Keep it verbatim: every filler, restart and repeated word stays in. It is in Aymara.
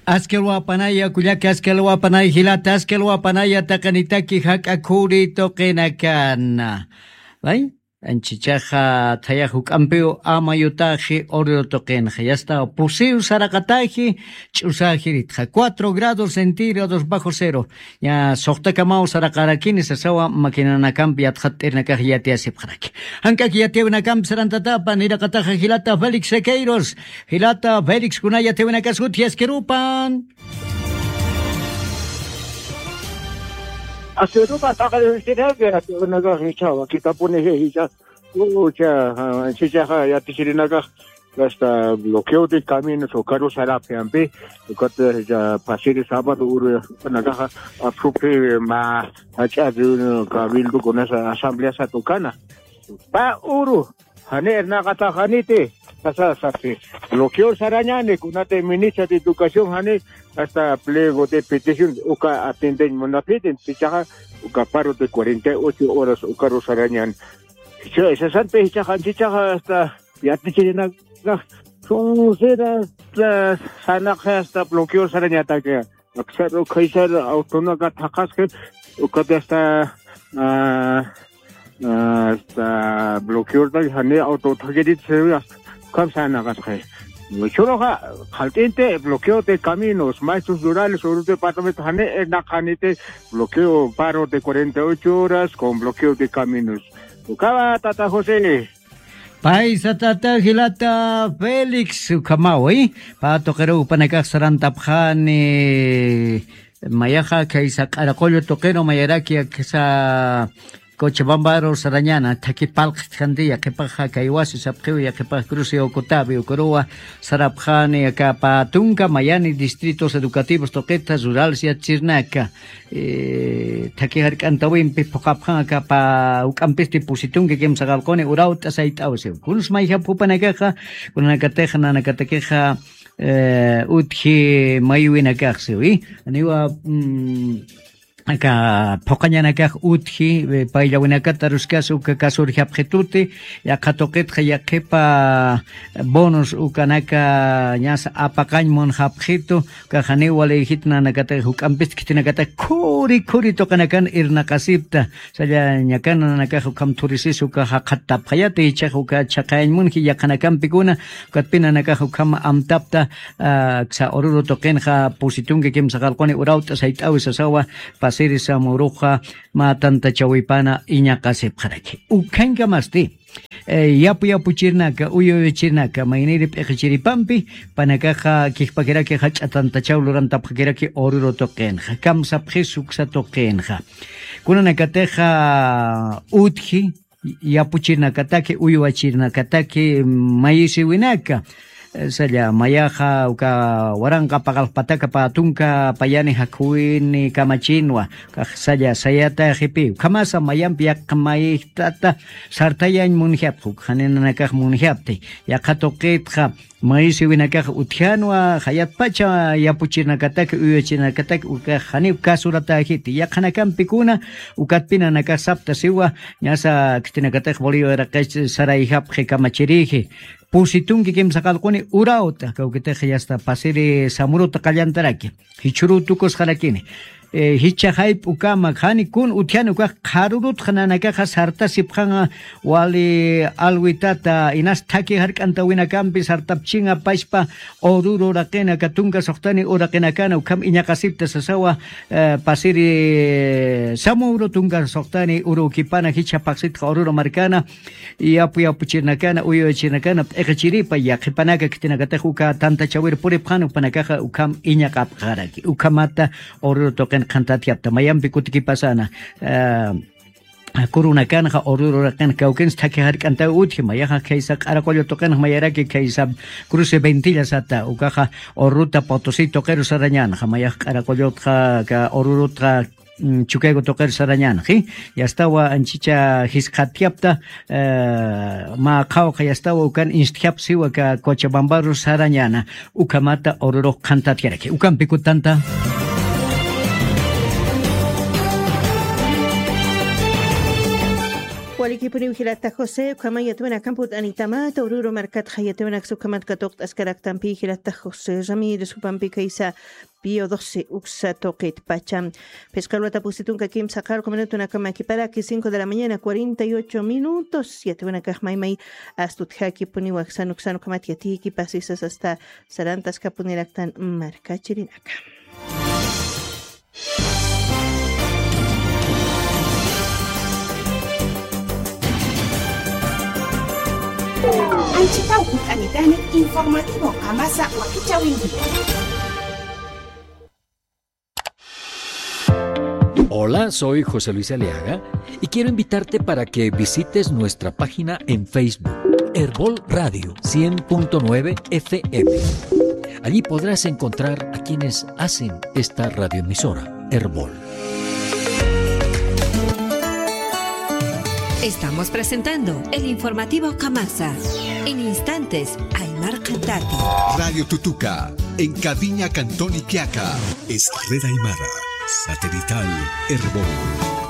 Askil wapanaya kullaka, askil wapanaya jilata, askil wapanaya taqinitaki jak'a khuri tuqinakana. Ay, anchichaxa thayax juk'ampiw amayutaxi orero tuqinxa. Yasta pusiw saraqataji, ch'usajiritxa cuatro grados centígrados bajo cero. Ña suxtakamaw saraqarakini sasawa maquinanakampi yatxatt'irinakax yatiyasipxaraki. Jank'ak yatiyawinakampi sarantatapa niraqataxa jilata Félix Sequeiros. Jilata Félix, kuna yatiyawinakas utji askirupan. Askirupa taqarisiraki yatiyawinakax jichhawa kitapuni jichha. Ucha, ah, chichaxa yatichirinakax hasta bloqueo de caminos ukaru sarapxampi, ukata ya pasiri sábado uru nakaxa apsupi ma ach'a de un cabildo con esa asamblea satukana. Pa uru, jani ernaqataxaniti, sasa sapi. Bloqueo sarañani, kunati ministra de educación jani, hasta pliego de petición, uka atienden munapiti, chichaxa, uka paro de cuarenta y ocho horas, ukaru sarañani. Chicha, esa santa, chichaxa, chichaxa, hasta, yatichirinaka, sunsira, hasta, sanaqxa, hasta, bloqueo sarañataki. Aksar, ukhaysar, autonaka thaqasqi, ukati hasta, ah, ah, hasta, bloqueo ta, jani auto thaqiriti, hasta, ukham sanaqasqi. Churuxa, qhalt'inti, bloqueo de caminos, maestros rurales, uru departamento, jani, eh, naqaniti, bloqueo, paro de cuarenta y ocho horas con bloqueo de caminos. Ukhawa, tata José. Paysa tata jilata Félix ukhamawi. Pa tuqiru upanakax sarantapxani. Mayaxa khaysa q'araqullu tuqiru mayaraki aksa Cochabambaru sarañana, thaki palqtjanti, yaqipaxa kay wasi sapxiw, yaqipax cruce Ocotavi, ukaruwa sarapxani, aka pa tunka mayani distritos educativos tuqita, rurales yatichirnaka. Eh, thaki jark'antawimpi phuqapxan aka pa juk'ampisti pusi tunka kimsa qallquni urawt'a sayt'aw siw. Kuns mayjapxupanakaxa, kunanakatixa, nanakatakixa, eh, utji maywinakax siwi. Aniwa, mm, aka phuqañanakax utji, eh, payllawinakata aruskas uka kasurjapxituti, yaqha tuqitxa yaqipa bonos ukanaka ñasa apaqañ munxapxitu, ukax janiw walïjit nanakatax juk'ampist khitinakatax khuri khuri tuqinakan irnaqasipta, sallañakan nanakax ukham thurisis uka jaqhattapxayati, jichhax uka chhaqayañ munji yaqhanakampikuna, ukatpi nanakax ukham amtapta, ah, aksa Oruro tuqinxa pusi tunka kimsa qallquni urawt'a sayt'awi sasawa, pasiri Samuruxa mä tantachawipana iñaqasipxaraki. Ukhankamasti, eh, yapu yapuchirnaka, uyu uyuchirnaka, mayniri p'iqichiripampi, panakaxa kijpakiraki jach'a tantachaw lurantapxakiraki Oruro tuqinxa, kamsapxis uksa tuqinxa. Kunanakatixa utji, yapuchirnakataki, uywachirnakataki, mayisiwinaka. Eh, salla, mayaxa, uka waranqa paqallqpataka pä tunka payani jakhuwini kamachinwa, ukax salla, sayataxipi, ukhamasa mayampi yaqha mayt'ata sartayañ munjapxi, uka jani nanakax munjapti, yaqha tuqitxa, mayisiwinakax utjanwa, jayatpacha yapuchirnakataki, uywachirnakataki, ukax janiw kasuratäjiti, yaqhanakampikuna, ukatpi nanakax sapta siwa, ñasa khitinakatix Bolivia uraqich sarayjapxi kamachiriji. Pusi tunka kimsa qallquni urawt'a, kawkitix yasta pasiri Samuruta qallantaraki. Jichhüruw tukusxarakini. Eh, jichha jayp'ukama, jani kun utjani ukax qharürutxa nanakaxa sartasipxanxa wali alwitata, inas thaki jark'antawinakampi sartapchinxa pachpa Oruro uraqina, aka tunka suxtani uraqinakana, ukham iñaqasipta sasawa, eh, pasiri Samuro tunka suxtani urukipana, jichha phaxsitxa Oruro markana, yapu yapuchirnakana, uywachirnakana, p'iqichiripa, yaqhipanaka khitinakatix uka tantachawir puripxan, upanakaxa ukham iñaqapxaraki. Ukhamata Oruro tuqin qhantatyapta. Mayampi kutikipasana, eh, kurunakanxa Oruro uraqin kawkins thaki jark'antaw utji, mayaxa khaysa Q'araqullu tuqinx mayaraki khaysa Cruce Ventilla sata, ukaxa Oruruta Potosí tuqiru sarañanxa, mayax Q'araqullutxa, ka Orurutxa, mm, Chukiyawu tuqir sarañanxi, yastawa anchicha jisqatyapta, eh, mä qhawqa yastawa ukan instjapsiwa ka Cochabambaru sarañana, ukhamata Orurux qhantatjaraki. Ukampi kutanta. Likipuniw jilata José, ukhamay yatwinakam purt'anitamata, Oruro markatxa yatwinaksa ukhamat katuqt'askaraktampi jilata José Ramírez, jupampi kaysa Pío doce uksa tuqit pacha. Phisqa luwata pusi tunka kimsa qarqu minutunakama kiparaki, cinco de la mañana, cuarenta y ocho minutos. Yatwinakax maymay astutjakipuni, waksan uksan ukhamat yatiyki pasisas hasta sarantaskapuniraktan markachirinaka. Anchitaw purt'anitani informativo Qamasa wakichäwinkiwa. Hola, soy José Luis Aliaga y quiero invitarte para que visites nuestra página en Facebook, Erbol Radio cien punto nueve F M. Allí podrás encontrar a quienes hacen esta radioemisora, Erbol. Estamos presentando el informativo Qamasa. En instantes, Aymar Cantati. Radio Tutuca, en Caviña, Cantón Iquiaca. Es Red Aymara, satelital, Erbol.